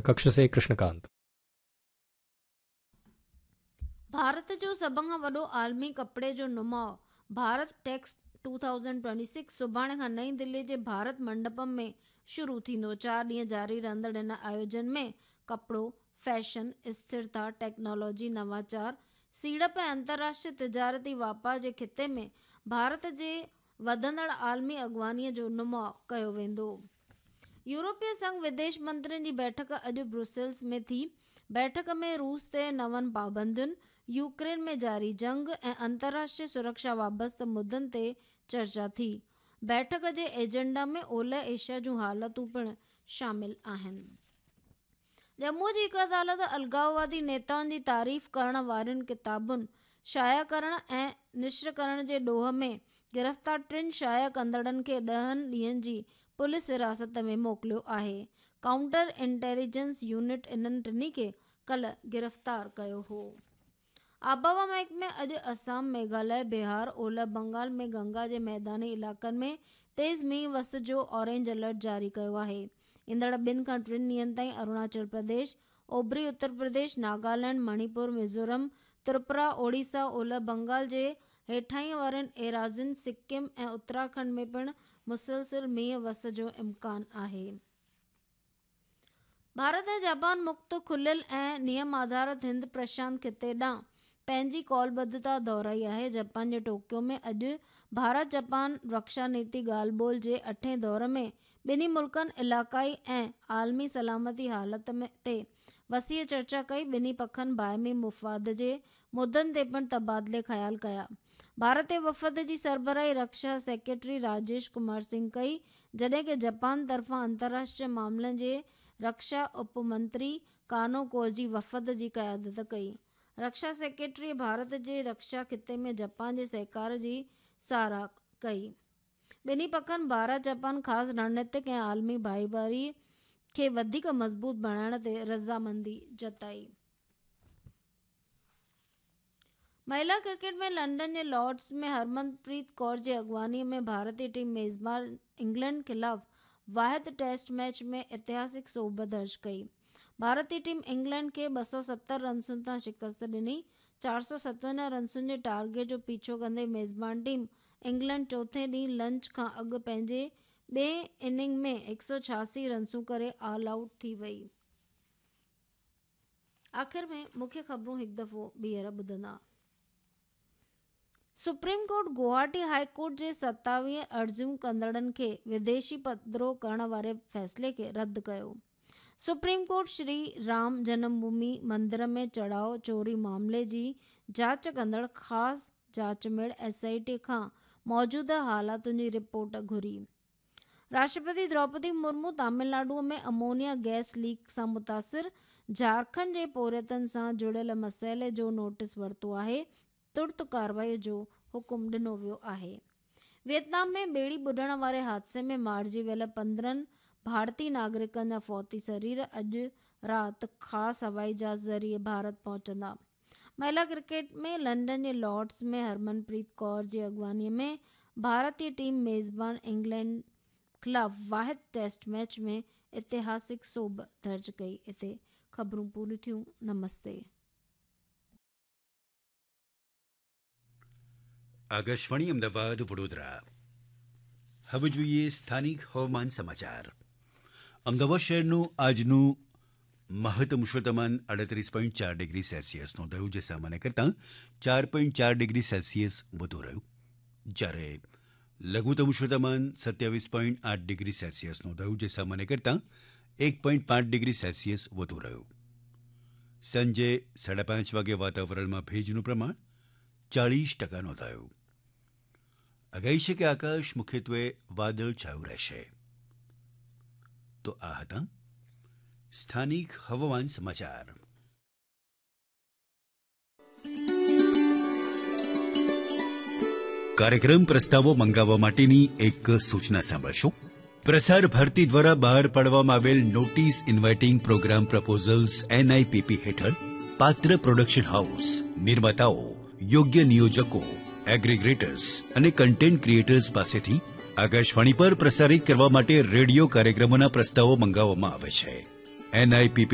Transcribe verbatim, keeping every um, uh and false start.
कक्ष से कृष्णकांत। भारत जो सभ खां वॾो आलमी कपिड़े जो नुमाउ भारत टेक्स ٻه هزار ٽيويهه सुभाणे खां नई दिल्ली जे भारत मंडपम में शुरू थींदो। चारि ॾींहं जारी रहंदड़ हिन आयोजन में कपिड़ो, फैशन, स्थिरता, टेक्नोलॉजी, नवाचार, सीड़प ऐं अंतर्राष्ट्रीय तिजारती वापार जे ख़िते में भारत जे वधंदड़ आलमी अॻुवानीअ जो नुमाउ कयो वेंदो। यूरोपीय संघ विदेश मंत्रियुनि जी बैठक अॼु ब्रुसेल्स में थी। बैठक में रूस ते नवनि पाबंदियुनि, यूक्रेन में जारी जंग ऐं अंतर्राष्ट्रीय सुरक्षा वाबस्ता मुद्दनि ते चर्चा थी। बैठक जे एजेंडा में ओलह एशिया जूं हालतूं पिणु शामिल आहिनि। जम्मू जी हिकु अदालत अलगाववादी नेताउनि जी तारीफ़ करण वारियुनि किताबुनि शाया करण ऐं नश्र करण जे ॾोह में गिरफ़्तार टिनि शाया कंदड़नि खे ॾहनि ॾींहनि जी पुलिस हिरासत में मोकिलियो आहे। काउंटर इंटेलिजेंस यूनिट इन्हनि टिन्ही खे कल्ह गिरफ़्तार कयो हो। आबहवा महकमे अॼु असम, मेघालय, बिहार, ओलह बंगाल में गंगा जे मैदानी इलाइक़नि में तेज़ मींहुं वस जो ऑरेंज अलर्ट जारी कयो आहे। ईंदड़ ॿिनि खां टिनि ॾींहनि ताईं अरुणाचल प्रदेश, ओभरी उत्तर प्रदेश, नागालैंड, मणिपुर, मिज़ोरम, त्रिपुरा, ओडिशा, ओलह बंगाल जे हेठाई वारनि एराज़ियुनि, सिक्किम ऐं उत्तराखंड में पिणु मुसलसिल मींहुं वस जो इम्कान आहे। भारत ऐं जापान मुक्त, खुलियल ऐं नियम आधारित हिंद प्रशांत ख़िते ॾांहुं पंहिंजी कौलबद्धता दोहराई आहे। जापान जे टोक्यो में अॼु भारत जापान रक्षा नीति ॻाल्हि ॿोल जे अठें दौर में ॿिन्ही मुल्कनि इलाइक़ाई ऐं आलमी सलामती हालत में ते वसीअ चर्चा कई। ॿिन्ही पखनि बाहिमी मुफ़ाद जे मुद्दनि ते पिणु तबादिले ख़्याल कया। भारतीय वफ़द जी सरबराही रक्षा सेक्रेटरी राजेश कुमार सिंह कई, जॾहिं की जापान तरफ़ां अंतर्राष्ट्रीय मामलनि जे रक्षा उप मंत्री कानो कोजी वफ़द जी क़यादत कई। रक्षा सेक्रेटरी भारत जे रक्षा ख़िते में जापान जे सहकार जी सराह कई। ॿिन्ही पखनि भारत जापान ख़ासि रणनीतिक ऐं आलमी भाईवारी खे वधीक मज़बूत बणाइण ते रज़ामंदी जताई। महिला क्रिकेट में लंदन जे लॉर्ड्स में हरमनप्रीत कौर जी अॻुवानीअ में भारतीय टीम मेज़बान इंग्लैंड ख़िलाफ़ वाहिद टेस्ट मैच में ऐतिहासिक सोभ दर्ज कई। भारतीय टीम इंग्लैंड खे ॿ सौ सत्तर रनसुनि तां शिकस्त ॾिनी। चारि सौ सतवंजाह रनसुनि जे टारगेट जो पीछो कंदे मेज़बान टीम इंग्लैंड चोथें ॾींहुं लंच खां अॻु पंहिंजे ॿिए इनिंग में हिकु सौ छियासी रनसूं करे ऑल आउट थी वई। आख़िर में मुख्य ख़बरूं हिकु दफ़ो ॿीहर ॿुधंदा। Supreme court Guwahati high court जे सतावीह अर्ज़ियूं कंदड़नि खे विदेशी पधरो करण वारे फ़ैसिले खे रद्द कयो। सुप्रीम कोर्ट श्री राम जन्मभूमि मंदिर में चढ़ाव चोरी मामले जी जांच कंदड़ ख़ासि जांच मेड़ एस I T खां मौजूदा हालातुनि जी रिपोर्ट घुरी। राष्ट्रपति द्रौपदी मुर्मू तमिलनाडु में अमोनिया गैस लीक सां मुतासिर झारखंड जे पोरियतनि सां जुड़ियल मसइले जो नोटिस वरितो आहे, तुर्त कार्रवाई जो हुकुम ॾिनो वियो आहे। वियतनाम में ॿेड़ी ॿुॾण वारे हादसे में मारिजी वियल पंद्रहं भारतीय नागरिकनि जा फौती शरीर अॼु राति ख़ासि हवाई जहाज़ ज़रिए भारत पहुचंदा। महिला क्रिकेट में लंदन जे लॉर्ड्स में हरमनप्रीत कौर जी अॻुवानीअ में भारतीय टीम मेज़बान इंग्लैंड ख़िलाफ़ वाहिद टेस्ट मैच में ऐतिहासिक सोभ दर्ज कई। हिते ख़बरूं पूरियूं थियूं। नमस्ते। આકાશવાણી અમદાવાદ વડોદરા. હવે જોઈએ સ્થાનિક હવામાન સમાચાર. અમદાવાદ શહેરનું આજનું મહત્તમ ઉષ્ણતામાન આડત્રીસ પોઈન્ટ ચાર ડિગ્રી સેલ્સિયસ નોંધાયું, જે સામાન્ય કરતાં ચાર પોઈન્ટ ચાર ડિગ્રી સેલ્સિયસ વધુ રહ્યું. જ્યારે લઘુત્તમ ઉષ્ણતામાન સત્યાવીસ પોઈન્ટ આઠ ડિગ્રી સેલ્સિયસ નોંધાયું, જે સામાન્ય કરતાં એક પોઈન્ટ પાંચ ડિગ્રી સેલ્સિયસ વધુ રહ્યું. સાંજે સાડા પાંચ વાગે વાતાવરણમાં ભેજનું પ્રમાણ ચાળીસ ટકા નોંધાયું. આગાહી છે કે આકાશ મુખ્યત્વે વાદળછાયું રહેશે. તો આ હતા સ્થાનિક હવામાન સમાચાર. કાર્યક્રમ પ્રસ્તાવો મંગાવવા માટેની એક સૂચના સાંભળશો. પ્રસાર ભારતી દ્વારા બહાર પાડવામાં આવેલ notice inviting programme proposals NIPP હેઠળ પાત્ર પ્રોડક્શન હાઉસ, નિર્માતાઓ, યોગ્ય નિયોજકો, એગ્રીગ્રેટર્સ અને કન્ટેન્ટ ક્રિએટર્સ પાસેથી આકાશવાણી પર પ્રસારિત કરવા માટે રેડિયો કાર્યક્રમોના પ્રસ્તાવો મંગાવવામાં આવે છે. એનઆઈપીપી